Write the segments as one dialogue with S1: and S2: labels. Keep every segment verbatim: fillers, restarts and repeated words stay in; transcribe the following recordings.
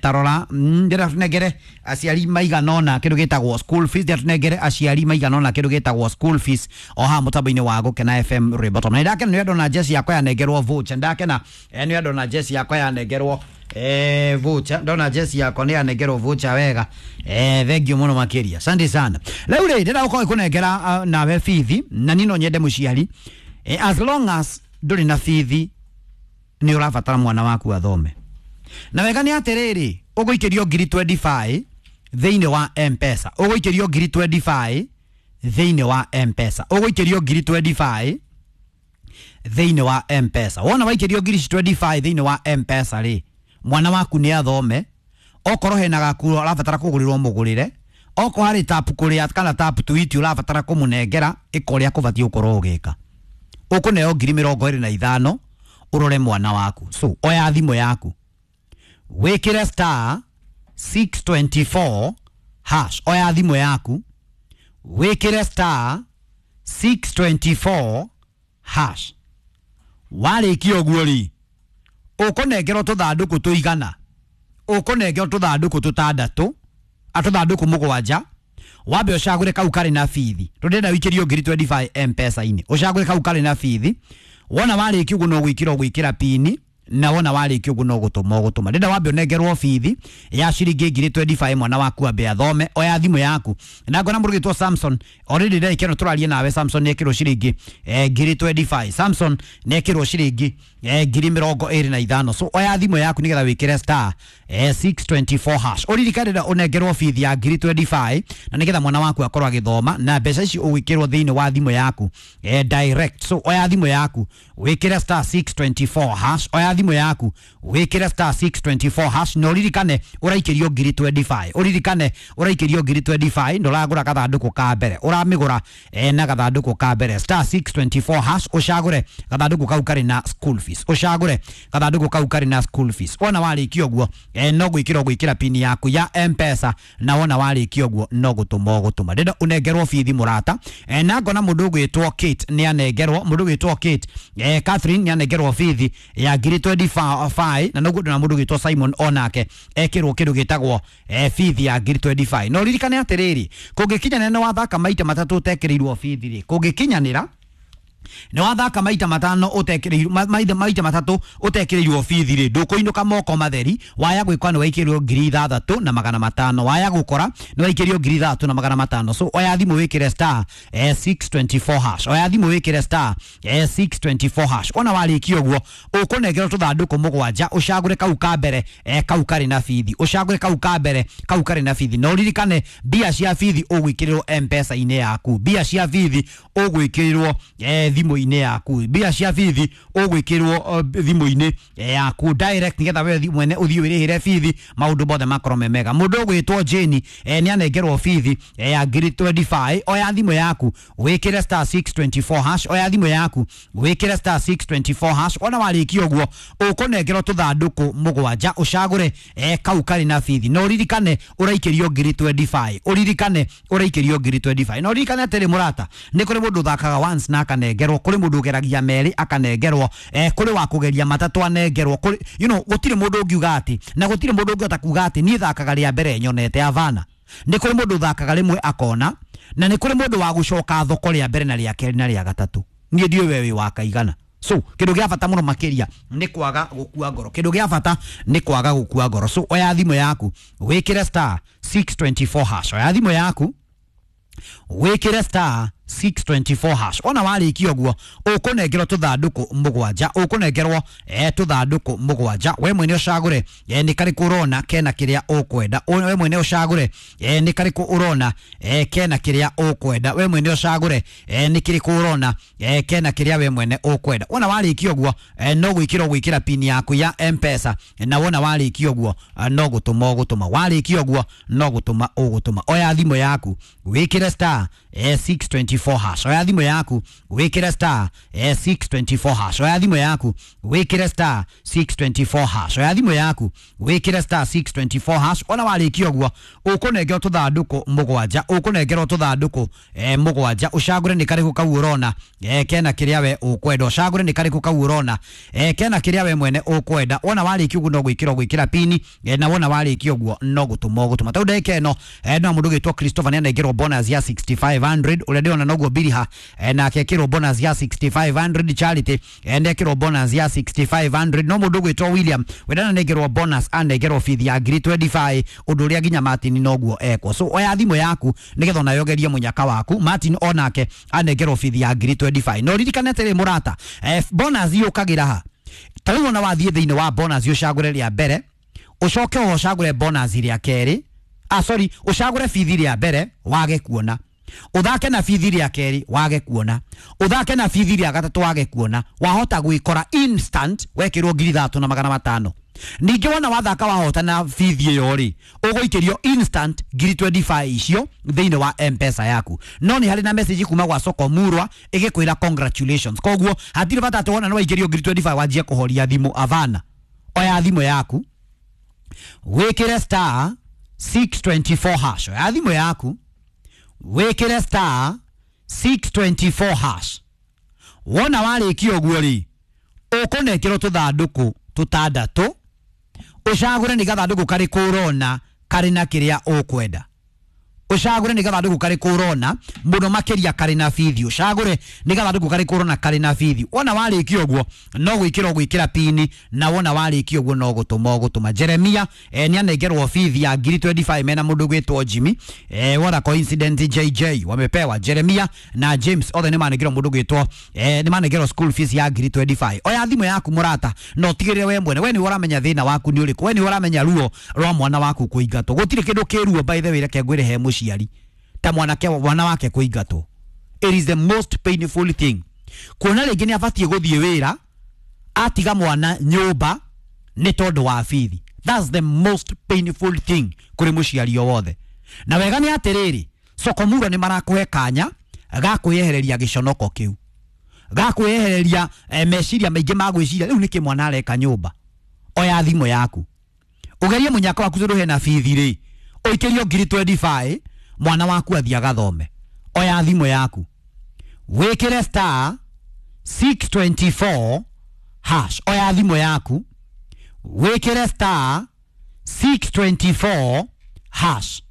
S1: tarora ndĩrenda tũnengere aciari maigana ũna kĩndũ gĩtagwo school fees, ndĩrenda tũnengere aciari maigana ũna kĩndũ gĩtagwo school fees o haha mũtambo-inĩ wa Gũkena F M rwĩmbo top. Na nĩndakena nĩ ndona jeci yakwa yanengerwo voucher, ndakena eh, nĩ ndona jeci yakwa yanengerwo eh, voucher, ndona jeci yakwa nĩ yanengerwo voucher wega eh, thank you mũno makĩria, asante sana. Rĩu rĩ ndĩrenda gũkorwo ngĩkũnengera uh, nawe bithi na niĩ no nyende mũciari eh, as long as ndũrĩ na bithi nĩ ũrabatara mwana waku athome. Na wega nĩ atĩrĩrĩ, ũgũikĩrio ngiri twenty-five thĩinĩ wa M-Pesa, ũgũikĩrio ngiri twenty-five thĩinĩ wa M-Pesa, ũgũikĩrio ngiri twenty-five thĩinĩ wa M-Pesa. Wona waikĩrio ngiri twenty-five thĩinĩ wa M-Pesa rĩ, mwana waku nĩ athome, okorwo hena gakuo ũrabatara kũgũrĩrwo mũgũrĩre, okorwo harĩ tap kũrĩa kana tap tuiti ũrabatara kũmũnengera, ĩka ũrĩa kũbatiĩ gũkorwo ũgĩka. Ũkũneo ngiri mĩrongo ĩrĩ na ithano ũrore mwana waku. So oya thimũ yaku wĩkĩre star six twenty-four hash, oya thimũ yaku wĩkĩre star six twenty-four hash. Warĩkia ũguo rĩ, ũkũnengerwo tũthandũkũ tũigana, ũkũnengerwo tũthandũkũ tũtandatũ, atũthandũkũ mũgwanja, wambe ũcagũre kau karĩ na bithi, tondũ wĩikĩrio ngiri twenty-five M-Pesa-inĩ, ũcagũre kau karĩ na bithi. Wona warĩkia ũguo no gwĩkĩra ũgwĩkĩra pini, na wona warĩkia ũguo no gũtũma ũgũtũma. Ndĩrenda wambe ũnengerwo bithi ya ciringi ngiri twenty-five mwana waku ambe athome. Oya thimũ yaku na ngona mũndũ ũgwĩtwo Samson already ndagĩka ĩno tũraria nawe, Samson nĩ ekĩrwo ciringi eh, ngiri twenty-five, Samson nĩ ekĩrwo ciringi eh, ngiri mĩrongo ĩrĩ na ithano. So oya thimũ yaku nĩgetha wĩkĩre star eh, six twenty-four hash, ũririkane ndĩrenda ũnengerwo bithi ya ngiri twenty-five na nĩgetha mwana waku akorwo agĩthoma, na mbeca ici ũgwĩkĩrwo thĩinĩ wa thimũ yaku eh, direct. So oya thimũ yaku wĩkĩre star six twenty-four hash, oya thimũ yaku wĩkĩre star six twenty-four hash, na ũririkane ũraikĩrio ngiri twenty-five, ũririkane ũraikĩrio ngiri twenty-five, ndũragũra gathandũkũ ka mbere, ũramĩgũra eh, na gathandũkũ ka mbere star six twenty-four hash, ũcagũre gathandũkũ kau karĩ na school fees, ũcagũre gathandũkũ kau karĩ na school fees. Wona warĩkia ũguo eh, no gwĩkĩra ũgwĩkĩra pini yaku ya M-Pesa, na wona warĩkia ũguo no gũtũma ũgũtũma. Ndĩrenda ũnengerwo bithi mũrata eh, na ngona mũndũ ũgwĩtwo Kate nĩ anengerwo, mũndũ ũgwĩtwo Kate eh, Catherine nĩ anengerwo bithi ya ngiri twenty-five, na noguo ndona mũndũ ũgwĩtwo Simon onake ekĩrwo kĩndũ gĩtagwo eh, bithi ya ngiri twenty-five. Na ũririkane atĩrĩrĩ, kũngĩkinyanĩra nĩ wathaka maita matatũ ũtekĩrĩirwo bithi rĩ, kũngĩkinyanĩra nĩ wathaka maita matano ũtekĩrĩirwo maita maita matatũ ũtekĩrĩirwo bithi rĩ, ndũkũinũka moko matheri. Waya gwĩkwa nĩ waikĩrwo ngiri ithathatũ na magana matano, waya gũkora nĩ waikĩrio ngiri ithathatũ na magana matano. So oya thimũ wĩkĩre star eh, six twenty-four hash, oya thimũ wĩkĩre star eh, six twenty-four hash. Ona warĩkia ũguo ũkũnengerwo tũthandũkũ mũgwanja, ũcagũre kau ka mbere eh, kau karĩ na bithi, ũcagũre kau ka mbere kau karĩ na bithi, na ũririkane mbia cia bithi ũgwĩkĩrĩrwo M-Pesa-inĩ yaku, mbia cia bithi ũgwĩkĩrĩrwo eh, thimũ-inĩ yaku, mbia cia bithi ũgwĩkĩrwo thimũ-inĩ yaku direct, nĩgetha we mwene ũthiĩ wĩrĩhĩre bithi, maũndũ mothe makorwo me mega. Mũndũ ũgwĩtwo Jane eh, nĩ anengerwo bithi eh, ya ngiri twenty-five. Oya thimũ yaku wĩkĩre star six twenty-four hash, oya thimũ yaku wĩkĩre star six twenty-four hash. Ona warĩkia ũguo ũkũnengerwo tũthandũkũ mũgwanja, ũcagũre eh, kau karĩ na bithi, na ũririkane ũraikĩrio ngiri twenty-five, ũririkane ũraikĩrio ngiri twenty-five. Na ũririkane atĩrĩ mũrata, nĩ kũrĩ mũndũ ũthakaga once na akanengerwo, kũrĩ mũndũ ũgeragia merĩ akanengerwo, eh, kũrĩ wa kũgeria matatũ anengerwo, kũrĩ you know, gũtirĩ mũndũ ũngiuga atĩ, na gũtirĩ mũndũ ũngĩhota kuga atĩ niĩ thakaga rĩa mbere nyonete avana. Nĩ kũrĩ mũndũ ũthakaga rĩmwe akona, na nĩ kũrĩ mũndũ wa gũcoka thoko rĩa mbere na rĩa kerĩ na rĩa gatatũ. Niĩ ndiũĩ we wĩ wa kaigana. So kĩndũ gĩa bata mũno makĩria nĩ kwaga gũkua ngoro, kĩndũ gĩa bata nĩ kwaga gũkua ngoro. So oya thimũ yaku wĩkĩre star six twenty-four hash, oya thimũ yaku wĩkĩre star six twenty-four hash. Ona warĩkia ũguo ũkũnengerwo tũthandũkũ mũgwanja, ũkũnengerwo eh, tũthandũkũ mũgwanja, we mwene ũcagũre eh, nĩ karĩkũ ũrona kena kĩrĩa ũkwenda, we mwene ũcagũre eh, nĩ karĩkũ ũrona eh, kena kĩrĩa ũkwenda, we mwene ũcagũre eh, nĩ kĩrĩkũ ũrona eh, kena kĩrĩa we mwene ũkwenda. Wona warĩkia ũguo eh, no gwĩkĩra ũgwĩkĩra pini yaku ya M-Pesa, na wona warĩkia ũguo eh, no gũtũma ũgũtũma, warĩkia ũguo no gũtũma ũgũtũma. Oya thimũ yaku wĩkĩre star eh, six twenty-four twenty-four hash. Oya thimũ yaku wĩkĩre star eh, six twenty-four hash. Oya thimũ yaku wĩkĩre star six twenty-four hash. Oya thimũ yaku wĩkĩre star six twenty-four hash. Ona warĩkia ũguo ũkũnengerwo tũthandũkũ mũgwanja, ũkũnengerwo tũthandũkũ eh, mũgwanja, ũcagũre nĩ karĩkũ kau ũrona eh, kena kĩrĩa we ũkwenda, ũcagũre nĩ karĩkũ kau ũrona eh, kena kĩrĩa we mwene ũkwenda. Wona warĩkia ũguo no gwĩkĩra gwĩkĩra pini eh, na wona warĩkia ũguo no gũtũma ũgũtũma. Tau ndagĩka ĩno eh, no mũndũ ũgĩtwo Christopher nĩ anengerwo bonus ya sixty-five hundred, ũrĩa ndĩrona noguo Biriha eh, nake ekĩrwo bonus ya sixty-five hundred, Charity eh, nĩ ekĩrwo bonus ya sixty-five hundred, no mũndũ ũgwĩtwo William wenda anengerwo bonus anengerwo bithi ya ngiri twenty-five, ũndũ ũrĩa nginya Martin noguo ekwo. So oya thimũ yaku nĩgetha onawe ũgerie mũnyaka waku. Martin onake anengerwo bithi ya ngiri twenty-five. No ririkane atĩrĩ mũrata, eh, bonus yũkagĩra ha ta rĩu ona wathiĩ thĩinĩ wa bonus ũcagũre rĩa mbere, ũcoke oho ũcagũre bonus rĩa kerĩ, ah sorry, ũcagũre bithi rĩa mbere wage kuona, ũthake na bithi rĩa kerĩ wage kuona, ũthake na bithi rĩa gatatũ wage kuona, wahota gwĩkora instant wekĩrwo ngiri ithatũ na magana matano. Ningĩ wona wathaka wahota na bithi ĩyo rĩ, ũgũikĩrio instant ngiri twenty-five icio thĩinĩ wa M-Pesa yaku. No nĩ harĩ na message kuma gwa Soko Murwa ĩgĩkwĩra congratulations. Koguo hatirĩ bata atĩ wona nĩ waikĩrio ngiri twenty-five wanjie kũhoria thimũ. Avana, oya thimũ yaku wĩkĩre star six twenty-four hash. Oya thimũ yaku wĩkĩre star six twenty-four hash. Wona warĩkia ũguo rĩ, ũkũnengerwo tũthandũkũ tũtandatũ, ũcagũre nĩ gathandũkũ karĩkũ ũrona karĩ na kĩrĩa ũkwenda, ũcagũre nĩ gathandũkũ karĩkũ ũrona mũno makĩria karĩ na bithi, ũcagũre nĩ gathandũkũ karĩkũ ũrona karĩ na bithi. Wona warĩkia ũguo no gwĩkĩra ũgwĩkĩra pini, na wona warĩkia ũguo no gũtũma ũgũtũma. Jeremia eh, nĩ anengerwo bithi ya ngiri twenty-five mena mũndũ ũgwĩtwo Jimmy eh, what a coincidence, J J wamepewa Jeremia na James othe nĩ manengerwo mũndũ ũgwĩtwo eh, nĩ manengerwo school fees ya ngiri twenty-five. Oya thimũ yaku mũrata, no ũtigĩrĩre we mwene, we nĩ ũramenya thĩna waku nĩ ũrĩkũ, we nĩ ũramenya ruo rwa mwana waku kũingatwo. Gũtirĩ kĩndũ kĩruo by the way, reke ngwĩre he mũciari ta mwanake mwana wake kũingatwo. It is the most painful thing. Kuona rĩngĩ nĩ abatiĩ gũthiĩ wĩra atiga mwana nyũmba nĩ tondũ wa bithi. That's the most painful thing kũrĩ mũciari o wothe. Na wega nĩ atĩrĩrĩ, Soko Murwa nĩ marakũhe kanya ga kwĩyehereria gĩconoko kĩu, ga kwĩyehereria eh, meciria maingĩ ma gwĩciria rĩu nĩkĩ mwana areka nyũmba. Oya thimũ yaku ũgerie mũnyaka waku tondũ hena bithi rĩ, ũikĩrio ngiri twenty-five, mwana waku athiĩ agathome. Oya thimũ yaku wĩkĩre star six twenty-four hash. Oya thimũ yaku wĩkĩre star six twenty-four hash.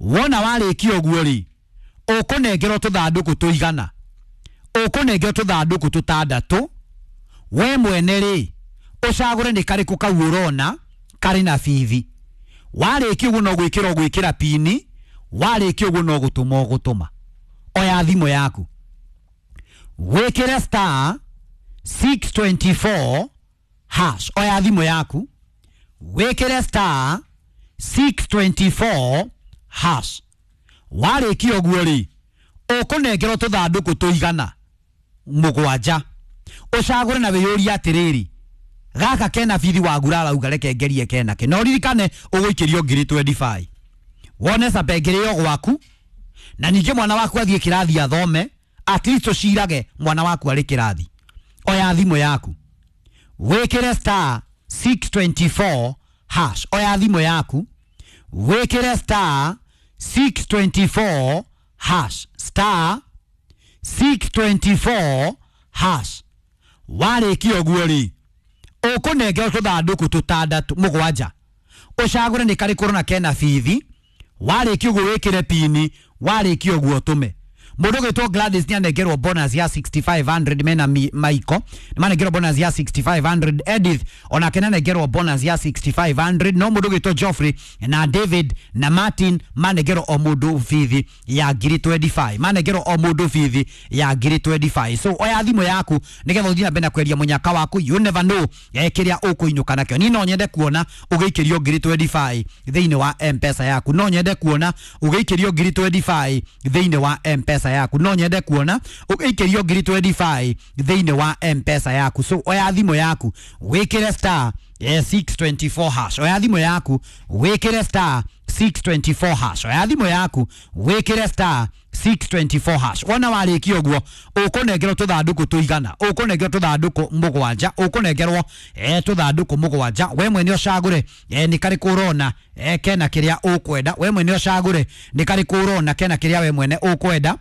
S1: Wona warĩkia ũguo rĩ, ũkũnengerwo tũthandũkũ tũigana, ũkũnengerwo tũthandũkũ tũtandatũ, we mwene rĩ ũcagũre nĩ karĩkũ kau ũrona karĩ na bithi. Warĩkia ũguo no gwĩkĩra ũgwĩkĩra pini, warĩkia ũguo no gũtũma ũgũtũma. Oya thimũ yaku wĩkĩre star six twenty-four hash. Oya thimũ yaku wĩkĩre star six twenty-four hash. Warĩkia ũguo rĩ, ũkũnengerwo tũthandũkũ tũigana mũgwanja, ũcagũre na wĩyũrie atĩrĩrĩ, gaka kena bithi wagura arauga reke ngerie kena ke. No ririkane ũgũikĩrio ngiri twenty-five, wone cabengere ĩyo gwaku, na ningĩ mwana waku athiĩ kĩrathi athome, at least ũcirage mwana waku arĩ kĩrathi. Oya thimũ yaku wĩkĩre star six twenty-four hash. Oya thimũ yaku wĩkĩre star six twenty-four hash, star six twenty-four hash. Warĩkia ũguo rĩ, ũkũnengerwo tũthandũkũ tũtandatũ mũgwanja, ũcagũre nĩ karĩkũ ũrona kena bithi. Warĩkia ũguo wĩkĩre pini, warĩkia ũguo ũtũme. Mũndũ ũgwĩtwo Gladys nĩ anengerwo bonus ya sixty-five hundred mena Maiko nĩ manengerwo bonus ya sixty-five hundred. Edith onake nĩ anengerwo bonus ya sixty-five hundred. No mũndũ ũgwĩtwo Geoffrey na David na Martin manengerwo o mũndũ bithi ya ngiri twenty-five, manengerwo o mũndũ bithi ya ngiri twenty-five. So oya thimũ yaku nĩgetha ũthiĩ na mbere na kweria mũnyaka waku. You never know eh, kĩrĩa ũkũinũka nakĩo. Niĩ no nyende kuona ũgĩikĩrio ngiri twenty-five thĩinĩ wa M-Pesa yaku, no nyende kuona ũgĩikĩrio ngiri twenty-five thĩinĩ wa M-Pesa yaku, no nyende kuona ũgĩikĩrio ngiri twenty-five thĩinĩ wa M-Pesa yaku. So oya thimũ yaku wĩkĩre star eh, six twenty-four hash. Oya thimũ yaku wĩkĩre star six twenty-four hash. Oya thimũ yaku wĩkĩre star six twenty-four hash. Wona warĩkia ũguo ũkũnengerwo tũthandũkũ tũigana, ũkũnengerwo tũthandũkũ mũgwanja, ũkũnengerwo eh tũthandũkũ mũgwanja. We mwene ũcagũre eh nĩ karĩkũ ũrona eh kena kĩrĩa ũkwenda. We mwene ũcagũre nĩ karĩkũ ũrona kena kĩrĩa we mwene ũkwenda.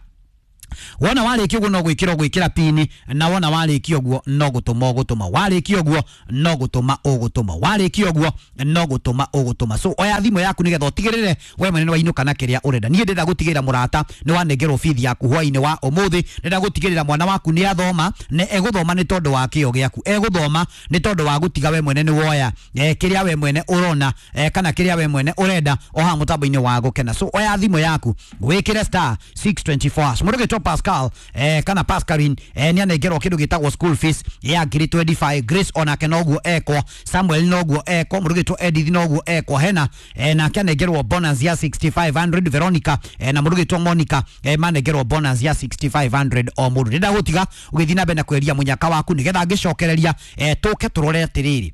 S1: Wona warĩkia ũguo no gwĩkĩra ũgwĩkĩra pini, na wona warĩkia ũguo no gũtũma ũgũtũma, warĩkia ũguo no gũtũma ũgũtũma, warĩkia ũguo no gũtũma ũgũtũma. So oya thimũ yaku nĩgetha ũtigĩrĩre we mwene nĩwainũka na kĩrĩa ũrenda. Niĩ ndĩrenda gũtigĩrĩra mũrata nĩ wanengerwo bithi yaku hwainĩ wa ũmũthĩ. Ndĩrenda gũtigĩrĩra mwana waku nĩ athoma, na egũthoma nĩ tondũ wa kĩo gĩaku, egũthoma nĩ tondũ wa gũtiga we mwene nĩ woya eh, kĩrĩa we mwene ũrona eh, kana kĩrĩa we mwene ũrenda o haha mũtambo-inĩ wa gũkena. So oya thimũ yaku wĩkĩre star six twenty-four hash. Mũndũ Pascal eh, kana Pascaline eh, nĩ anengerwo kĩndũ gĩtagwo school fees ya ngiri twenty-five. Grace onake noguo ekwo, Samuel noguo ekwo, mũndũ gĩtwo Edith noguo ekwo, Hena eh, nake anengerwo bonus ya sixty-five hundred. Veronica eh, na mũndũ gĩtwo Monica eh, manengerwo bonus ya sixty-five hundred o mũndũ. Ndĩrenda gũtiga ũgĩthiĩ na mbere na kweria mũnyaka waku nĩgetha ngĩcokereria eh, tũke tũrore atĩrĩrĩ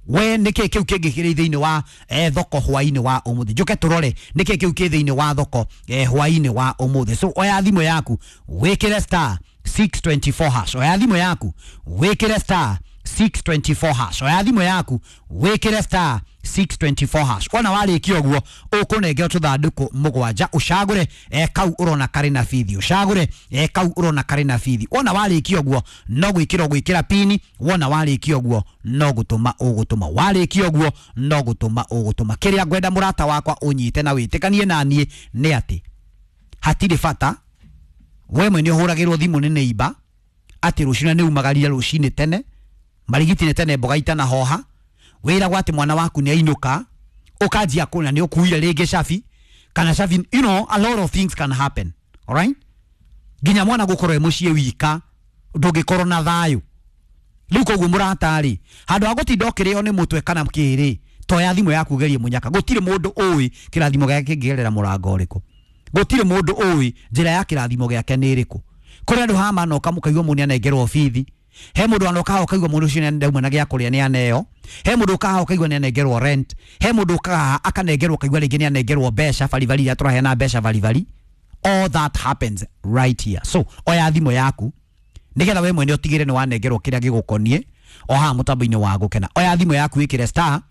S1: we nĩkĩ kĩu kĩngĩ kĩrĩ thĩinĩ wa eh, thoko hwainĩ wa ũmũthĩ. Njũke tũrore nĩkĩ kĩu kĩ thĩinĩ wa thoko eh, hwainĩ wa ũmũthĩ. So oya thimũ yaku wĩkĩre star six twenty-four hash. Oya thimũ yaku wĩkĩre star six twenty-four hash. Oya thimũ yaku wĩkĩre star six twenty-four hash. Wona warĩkia ũguo ũkũnengerwo tũthandũkũ mũgwanja, ũcagũre eh, kau ũrona karĩ na bithi, ũcagũre eh, kau ũrona karĩ na bithi. Wona warĩkia ũguo no gwĩkĩra ũgwĩkĩra pini, wona warĩkia ũguo no gũtũma ũgũtũma, warĩkia ũguo no gũtũma ũgũtũma. Kĩrĩa ngwenda mũrata wakwa ũnyite na wĩtĩkanie na niĩ nĩ atĩ hatirĩ bata we mwene ũhũragĩrwo thimũ nĩ neighbor atĩ rũciũ nĩ umagarire rũcinĩ tene, marigiti nĩ tene mboga itanahoha, wĩragwo atĩ mwana waku nĩ ainũka ũkanjia kũna nĩ ũkuire rĩngĩ cabi kana cabi, you know, a lot of things can happen, all right? Nginya mwana gũkorwo e mũciĩ wika ndũngĩkorwo na thayũ. Rĩu koguo mũrata-rĩ, handũ ha gũtinda ũkĩrĩo nĩ mũtwe kana kĩrĩ, toya thimũ yaku ũgerie mũnyaka. Gũtirĩ mũndũ ũĩ kĩrathimo gĩake kĩngĩgerera mũrango ũrĩkũ, gũtirĩ mũndũ ũĩ njĩra ya kĩrathimo gĩake nĩ ĩrĩkũ. Kũrĩ andũ haha manoka mũkaigua mũndũ nĩanengerwo bithi, he mũndũ anoka haha ũkaigua mũndũ ũcio nĩandauma na gĩa kũrĩa nĩaneo, he mũndũ ũkaga haha ũkaigua nĩanengerwo rent, he mũndũ ũkaga haha akanengerwo ũkaigua rĩngĩ nĩanengerwo mbeca baribari iria tũraheana mbeca baribari. All that happens right here. So oya thimũ yaku nĩgetha we mwene ũtigĩre nĩ wanengerwo kĩrĩa gĩgũkoniĩ o haha mũtambo-inĩ wa gũkena. Oya thimũ yaku wĩkĩre star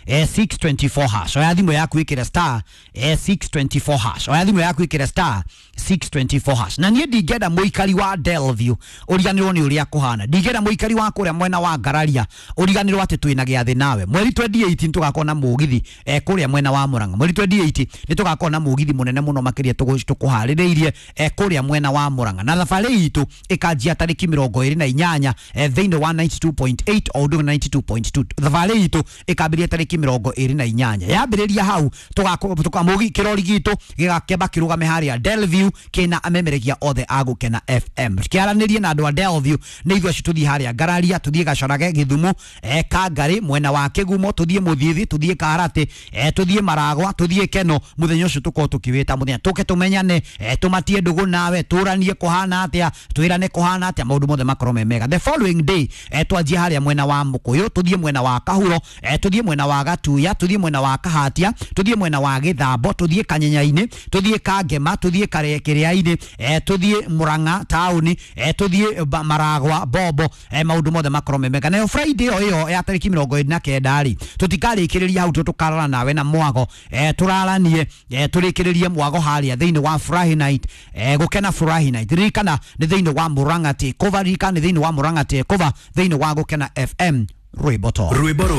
S1: eh, six twenty-four hash. Oya thimũ yaku wĩkĩre star eh, six twenty-four hash. Oya thimũ yaku wĩkĩre star six twenty-four hash. Na niĩ ndingĩenda mũikari wa Delview ũriganĩrwo nĩ ũrĩa kũhana, ndingĩenda mũikari wa kũrĩa mwena wa Ngararia ũriganĩrwo atĩ twĩna gĩathĩ nawe. Mweri twenty-eight nĩ tũgakorwo na mũgithi eh, kũrĩa mwena wa Murang'a. Mweri twenty-eight nĩ tũgakorwo na mũgithi mũnene mũno makĩria tũkũharĩrĩirie eh, kũrĩa mwena wa Murang'a, na thabarĩ itũ ĩkanjia tarĩki mĩrongo ĩrĩ na inyanya eh, thĩinĩ wa ninety-two point eight o ũndũ ninety-two point two. Thabarĩ itũ ĩkambĩrĩria tarĩki mĩrongo ĩrĩ na inyanya, yambĩrĩria hau tũgakorwo kĩrori gitũ gĩgakĩamba kĩrũgame harĩa Delview kĩna amemerekia othe a Gũkena F M. Kĩaranĩrie na andũ a Delview nĩ ithuĩ acio tũthiĩ harĩa Ngararia, tũthiĩ Gacorage, Gĩthumo, eh, Kangarĩ, mwena wa Kĩgumo, tũthiĩ Mũthithi, tũthiĩ Karatĩ, eh, tũthiĩ Maragwa, tũthiĩ Keno. Mũthenya ũcio tũkorwo tũkĩwĩta mũthenya tũke tũmenyane, eh, tũmatie ndũgũ nawe, tũranie kũhana atĩa, twĩrane kũhana atĩa, maũndũ mothe makorwo me mega. The following day eh, twanjie harĩa mwena wa Mũkũyũ, tũthiĩ mwena wa Kahuro, eh, tũthiĩ mwena wa Gatuya, tũthiĩ mwena wa Kahatia, tũthiĩ mwena wa Gĩthambo, tũthiĩ Kanyenyainĩ, tũthiĩ Kangema, tũthiĩ Kĩrĩa-inĩ, eh, tũthiĩ Murang'a taũni, eh, tũthiĩ Maragwa Bobo, eh, maũndũ mothe makorwo me mega. Nayo Friday o ĩyo ya tarĩki mĩrongo ĩrĩ na kenda rĩ, tũtikarĩkĩrĩria hau, tũkarara nawe na mwago, eh, tũraranie, eh, tũrĩkĩrĩrie mwago harĩa thĩinĩ wa Furahi Night, eh, Gũkena Furahi Night. Ririkana nĩ thĩinĩ wa Murang'a Takeover, ririkana nĩ thĩinĩ wa Murang'a Takeover, thĩinĩ wa Gũkena F M. Rwĩmbo to
S2: rwĩmbo rwega.